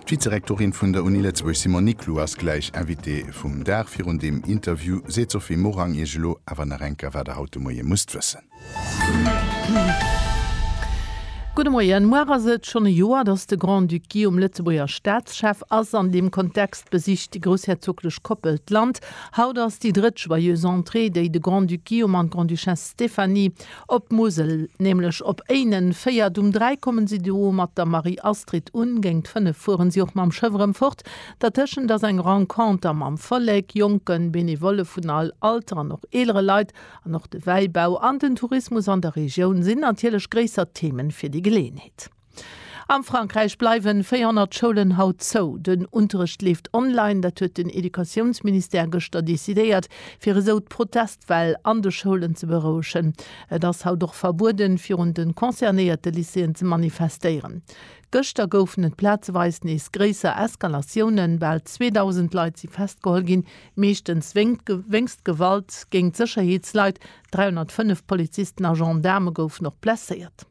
D'Vizerektorin vun der Uni Lëtzebuerg Simone Niclou ass gläich Invitée vum Dag. Virun deem Interview seet d'Sophie Morang Iech elo awer nach eng Kéier, wat der haut de Moie musst wëssen. Gudde Moien. Muar ass et schonn e Joer, datt de Grand-Duc Guillaume Lëtzebuerger Staatschef ass. An deem Kontext besicht déi groussherzoglech Koppel d'Land. Haut ass déi drëtt Joyeuse Entrée, déi de Grand-Duc Guillaume an d'Grande-Duchesse Stéphanie Op d'Musel, nämlech op Éinen, féiert. Um 3 kommen si do mat der Marie-Astrid un, géingt 5 fueren si och mam Schëff erëm fort. Dertëschent ass eng Renconter mam Vollek, jonken Benevolle vun all Alter an och eelere Leit. An och de Wäibau an den Tourismus an der Regioun sinn natierlech gréisser Themen fir déi Geleeënheet. Am Frankräich bleiwen 400 Schoulen haut zou. Den Unterrecht leeft online, dat huet den Educatiounsministère gëschter decidéiert, fir esou d'Protestwell an de Schoulen ze berouegen. Et ass haut och verbueden, virun de concernéierte Lycéeën ze manifestéieren. Gëschter goufen et plazeweis nees gréisser Eskalatiounen. Bal 2.000 Leit si festgeholl ginn, meeschtens wéinst Gewalt géint Sécherheetsleit. 305 Polizisten a Gendaarme goufen och blesséiert.